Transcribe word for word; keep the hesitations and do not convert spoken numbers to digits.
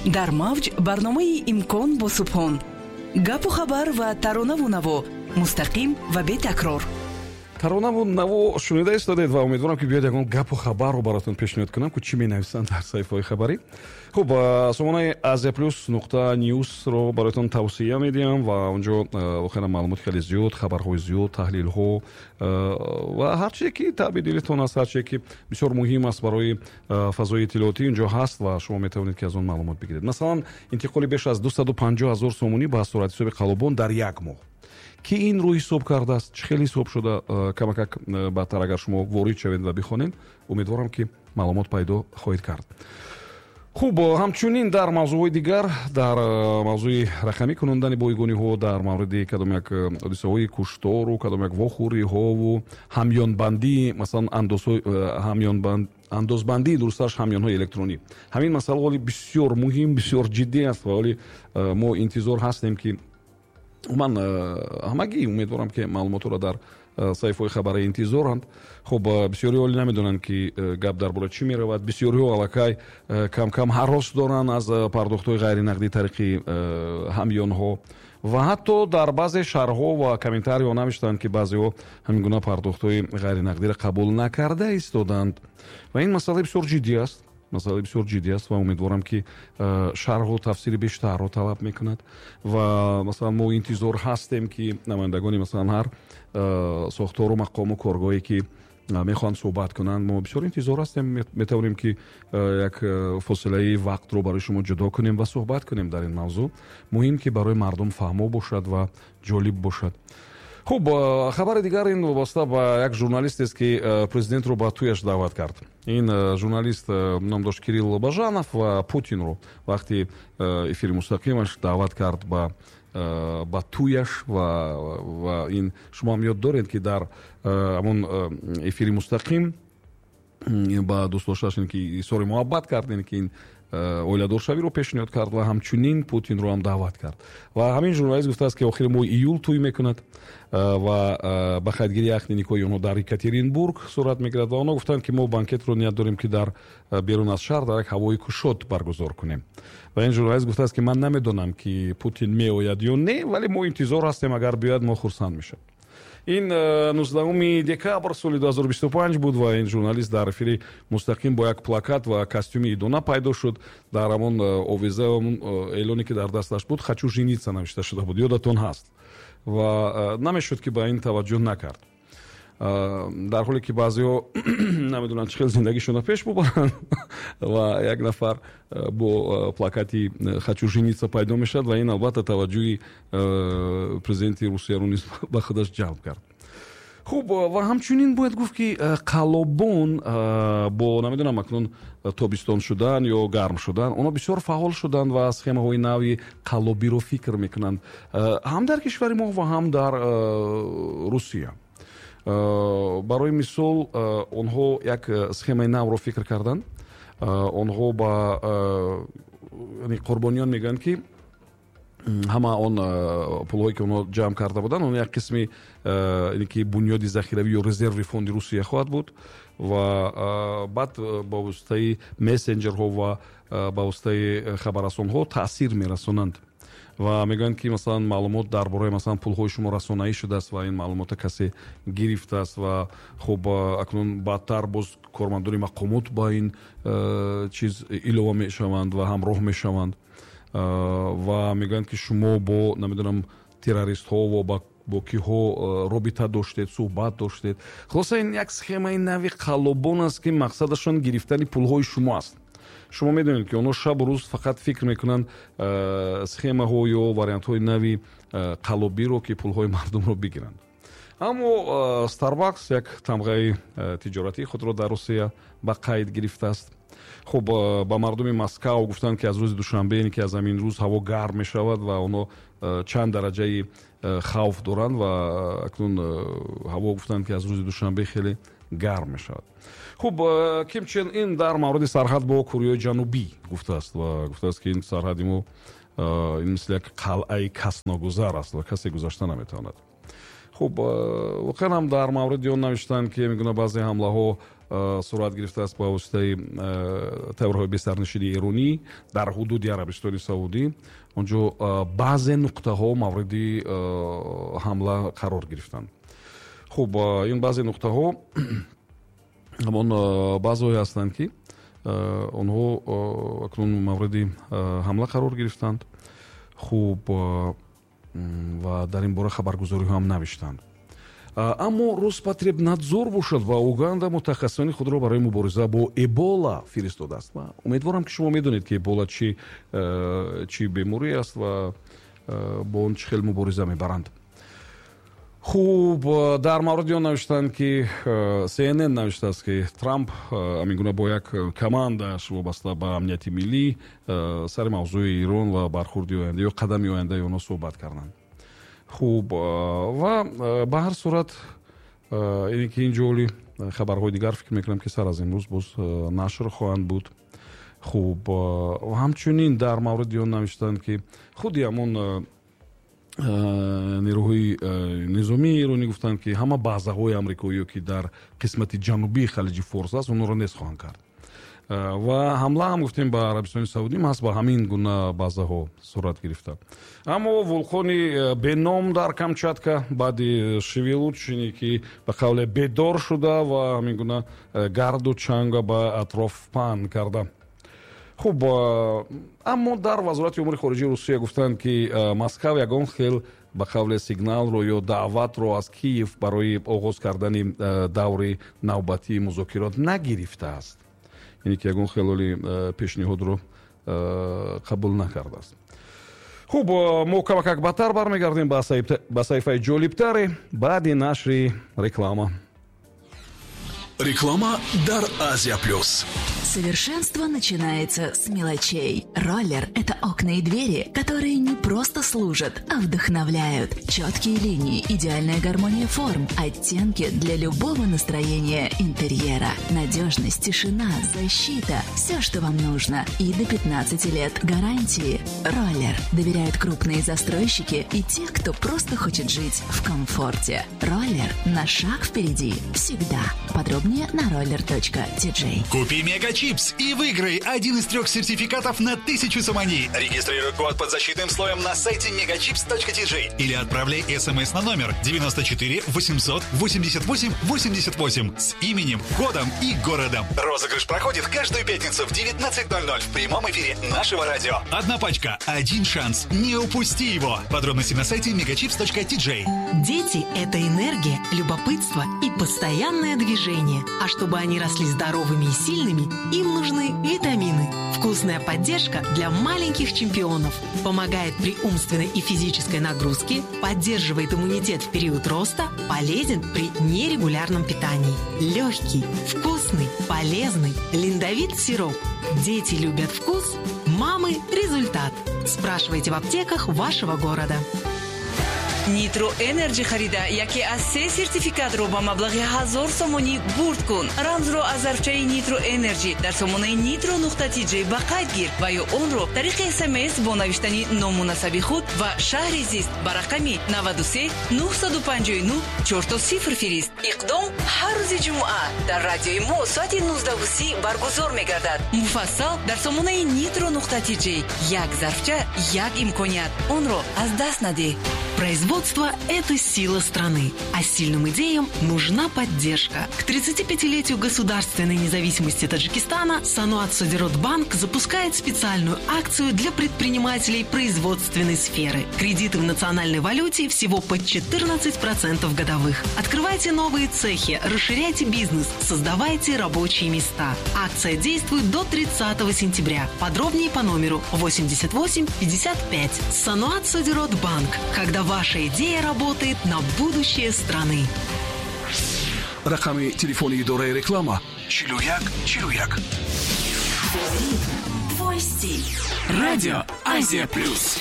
Дар мавҷ барномаи «Имкон» бо Субҳон: гапу хабар ва таронаву наво, мустақим ва бетакрор. Таронаву наво шунида истодед ва умедворам, ки биёд ягон гапу хабарро баротон пешниҳод кунам, ку чӣ менависанд дар саҳифаҳои хабарӣ. Хуб, сомонаи Азия Плюс нуқта ньюсро бароятон тавсия медиҳам ва онҷо воқеан маълумоти хеле зиёд, хабарҳои зиёд, таҳлилҳо ва ҳар чизе, ки таъби дилитон аст, ҳар чизе, ки бисёр муҳим аст барои фазои иттилоотӣ, инҷо ҳаст ва шумо метавонед, ки аз он маълумот бигиред. Масалан, интиқоли беш аз дусаду панҷоҳ ҳазор сомонӣ ба суратҳисоби қаллобон дар як моҳ. Ки инро ҳисоб кардааст, чӣ хеле ҳисоб шуда, камакак баъдтар агар шумо ворид шавед ва бихонед, умедворам, ки маълумот пайдо хоҳед кард. Хуб, ҳамчунин дар мавзӯъҳои дигар, дар мавзӯи рақамӣ кунондани бойгониҳо, дар мавриди кадом як ҳодисаҳои куштору кадом як вохӯриҳову ҳамёнбандӣ, масалан, андозбандии, дурусташ, ҳамёнҳои электронӣ. Ҳамин масъала ҳоли бисёр муҳим, бисёр ҷиддӣ аст ва ҳоли мо интизор ҳастем, ки ман ҳамагӣ умедворам, ки маълумотҳоро дар саҳифаҳои хабарӣ интизоранд. Хуб, бисёриҳо ҳоле намедонанд, ки гап дар бораи чӣ меравад. Бисёриҳо аллакай камкам ҳарос доранд аз пардохтҳои ғайринақдӣ тариқи ҳамёнҳо ва ҳатто дар баъзе шарҳҳо ва комментариҳо навиштанд, ки баъзеҳо ҳамин гуна пардохтҳои ғайринақдиро қабул накарда истоданд ва ин масъала бисёр ҷиддӣ аст, масъала бисёр ҷиддӣ аст ва умедворам, ки шарҳу тафсири бештарро талаб мекунад. Ва масалан, мо интизор ҳастем, ки намояндагони, масалан, ҳар сохтору мақому коргоҳе, ки мехоҳанд суҳбат кунанд, мо бисёр интизор ҳастем. Метавонем, ки як фосилаи вақтро барои шумо ҷудо кунем ва суҳбат кунем дар ин мавзӯъ. Муҳим, ки барои мардум фаҳмо бошад ва ҷолиб бошад. Хуб, хабари дигар ин вобаста ба як журналистест, ки президентро ба тӯяш даъват кард. Ин журналист ном дошт Кирилл Бажанов ва Путинро вақти эфири мустақимаш даъват кард ба ба тӯяш. ва ва ин шумо ҳам ёд доред, ки дар ҳамон эфири мустақим ба дӯстдоштааш ин ки изҳори муҳаббат кард, ин ки ин оиладоршавиро пешниҳод кард ва ҳамчунин Путинро ҳам даъват кард. Ва ҳамин журналист гуфтааст, ки охири моҳи июл тӯй мекунад ва ба қайдгирии ақди никоҳи онҳо дар Екатеринбург сурат мегирад ва онҳо гуфтанд, ки мо банкетро ният дорем, ки дар берун аз шаҳр, дар як ҳавои кушод баргузор кунем. Ва ин журналист гуфтааст, ки ман намедонам, ки Путин меояд ё не, вале мо интизор ҳастем, агар биёяд, мо хурсанд мешавем. Ин нуздаҳуми декабр соли ду ҳазору бисту панҷ буд ва ин журналист дар эфири мустақим бо як плакат ва костюми идона пайдо шуд. Дар ҳамон овеза, эълоне, ки дар дасташ буд, «Хочу жениться» навишта шуда буд, ёдатон ҳаст, ва намешуд, ки ба ин таваҷҷӯҳ накард, дар ҳоле ки баъзеҳо намедонанд, чӣ хел зиндагишонро пеш бубаранд ва як нафар бо плакати «Хочу жениться» пайдо мешавад ва ин албатта таваҷҷӯҳи президенти Русияро низ ба худаш ҷалб кард. Хуб, ва ҳамчунин бояд гуфт, ки қаллобон бо, намедонам, акнун тобистон шудан ё гарм шудан, онҳо бисёр фаъол шуданд ва схемаҳои нави қаллобиро фикр мекунанд ҳам дар кишвари мо ва ҳам дар Русия. Барои мисол, онҳо як схемаи навро фикр карданд. Онҳо ба қурбониён мегӯянд, ки ҳама он пулҳое, ки онҳо ҷамъ карда буданд, он як қисми ки бунёди захиравӣ ё резерви фонди Русия хоҳад буд ва баъд ба воситаи мессенҷерҳо ва ба воситаи хабаррасонҳо таъсир мерасонанд ва мегӯянд, ки масалан, маълумот дар бораи, масалан, пулҳои шумо расонаӣ шудааст ва ин маълумота касе гирифтааст. Ва хуб, акнун баъдтар боз кормандони мақомот ба ин чиз илова мешаванд ва ҳамроҳ мешаванд ва мегӯянд, ки шумо бо, намедонам, террористҳо ва бо киҳо робита доштед, суҳбат доштед. Хулоса, ин як схемаи нави қаллобон аст, ки мақсадашон гирифтани пулҳои шумо аст. Шумо медонед, ки онҳо шабу рӯз фақат фикр мекунанд схемаҳо ё вариантҳои нави қаллобиро, ки пулҳои мардумро бигиранд. Аммо Старбакс як тамғаи тиҷоратии худро дар Русия ба қайд гирифтааст. Хуб, ба мардуми Москав гуфтанд, ки аз рӯзи душанбе, ки аз ҳамин рӯз ҳаво гарм мешавад ва онҳо чанд дараҷаи хавф доранд ва акнун ҳаво, гуфтанд, ки аз рӯзи душанбе хеле гарм мешавад. Хуб, Ким Чен Ин дар мавриди сарҳад бо Кореяи Ҷанубӣ гуфтааст ва гуфтааст, ки ин сарҳади мо ин мисли як қалъаи касногузар аст ва касе гузашта наметавонад. Хуб, воқеан ҳам дар мавриди он навиштанд, ки мегӯна баъзе ҳамлаҳо Сурат гирифтааст ба воситаи тайёраҳои бесарнишини эронӣ дар ҳудуди Арабистони Саудӣ. Онҷо баъзе нуқтаҳо мавриди ҳамла қарор гирифтанд. Хуб, ин баъзе нуқтаҳо ҳамон баъзеҳое ҳастанд, ки онҳо акнун мавриди ҳамла қарор гирифтанд. Хуб, ва дар ин бора хабаргузориҳо ҳам навиштанд. Аммо Роспотребнадзор бошад ва Уганда мутахассисони худро барои мубориза бо Эбола фиристодааст. Ва умедворам, ки шумо медонед, ки Эбола чӣ чӣ беморӣ аст ва бо он чӣ хел мубориза мебаранд. Хуб, дар мавриди он навиштанд, ки C N N навиштааст, ки Трамп ҳамин гуна бо як командааш вобаста ба амнияти миллӣ сари мавзӯи Ирон ва бархурди оянда ё қадами ояндаи онҳо суҳбат карданд. Хуб, ва ба ҳар сурат ине ки ин ҷоли хабарҳои дигар, фикр мекунам, ки сар аз имрӯз боз нашр хоҳанд буд. Хуб, ҳамчунин дар мавриди он навиштанд, ки худи ҳамон нерӯҳои низомии эронӣ гуфтанд, ки ҳама базаҳои амрикоиё, ки дар қисмати ҷанубии Халиҷи Форс аст, онҳоро нест хоҳанд кард. Ва ҳамла ҳам, гуфтем, ба Арабистони Саудӣ маҳз ба ҳамин гуна базаҳо сурат гирифта. Аммо вулқони беном дар Камчатка баъди шевелучение, ки ба қавле бедор шуда ва ҳамин гуна гарду чанга ба атроф паҳн карда. Хуб, аммо дар Вазорати умури хориҷии Русия гуфтанд, ки Москав ягон хел, ба қавле, сигналро ё даъватро аз Киев барои оғоз кардани даври навбатии музокирот нагирифтааст, яъне ки ягон хелоли пешниҳодро қабул накардааст. Хуб, мо камакак баъдтар бармегардем ба саҳифаи ҷолибтаре баъди нашри реклама. Реклама дар Азия Плюс. Совершенство начинается с мелочей. Роллер – это окна и двери, которые не просто служат, а вдохновляют. Четкие линии, идеальная гармония форм, оттенки для любого настроения интерьера. Надежность, тишина, защита – все, что вам нужно. И до пятнадцати лет гарантии. Роллер. Доверяют крупные застройщики и те, кто просто хочет жить в комфорте. Роллер на шаг впереди. Всегда. Подробнее на roller.tj. Купи Мега Чипс и выиграй один из трех сертификатов на тысячу сомони. Регистрируй код под защитным слоем на сайте megachips.tj или отправляй смс на номер девяносто четыре восемьсот восемьдесят восемь восемьдесят восемь с именем, кодом и городом. Розыгрыш проходит каждую пятницу в девятнадцать ноль ноль в прямом эфире нашего радио. Одна пачка, один шанс. Не упусти его. Подробности на сайте megachips.tj. Дети – это энергия, любопытство и постоянное движение. А чтобы они росли здоровыми и сильными, им нужны витамины. Вкусная поддержка для маленьких чемпионов. Помогает при умственной и физической нагрузке, поддерживает иммунитет в период роста, полезен при нерегулярном питании. Легкий, вкусный, полезный. Линдовит сироп. Дети любят вкус, мамы – результат. Спрашивайте в аптеках вашего города. Нитро Энерджи харида, яке аз се сертификатро ба маблағи ҳазор сомонӣ бурд кун. Рамзро аз зарфчаи Нитро Энерджи дар сомонаи нитро нуқта тиҷ ба қайд гир ва ё онро тариқи смс бо навиштани ному насаби худ ва шаҳри зист ба рақами наваду се нӯҳсаду панҷоҳу нӯҳ чорто сифр фирист. Иқдом ҳар рӯзи ҷумъа дар радиои мо соати нуздаҳу си баргузор мегардад. Муфассал дар сомонаи нитро нуқта тиҷ. Як зарфча, як имконият, онро аз даст надеҳ. Производство – это сила страны, а сильным идеям нужна поддержка. К тридцатипятилетию государственной независимости Таджикистана Саноат Содиротбанк запускает специальную акцию для предпринимателей производственной сферы. Кредиты в национальной валюте всего под четырнадцать процентов годовых. Открывайте новые цехи, расширяйте бизнес, создавайте рабочие места. Акция действует до тридцатого сентября. Подробнее по номеру восемьдесят восемь пятьдесят пять. Саноат Содиротбанк. Когда ваша идея работает на будущее страны. Рақами телефони идораи реклама чилу як чилу як. Твой стиль. Радио Азия Плюс.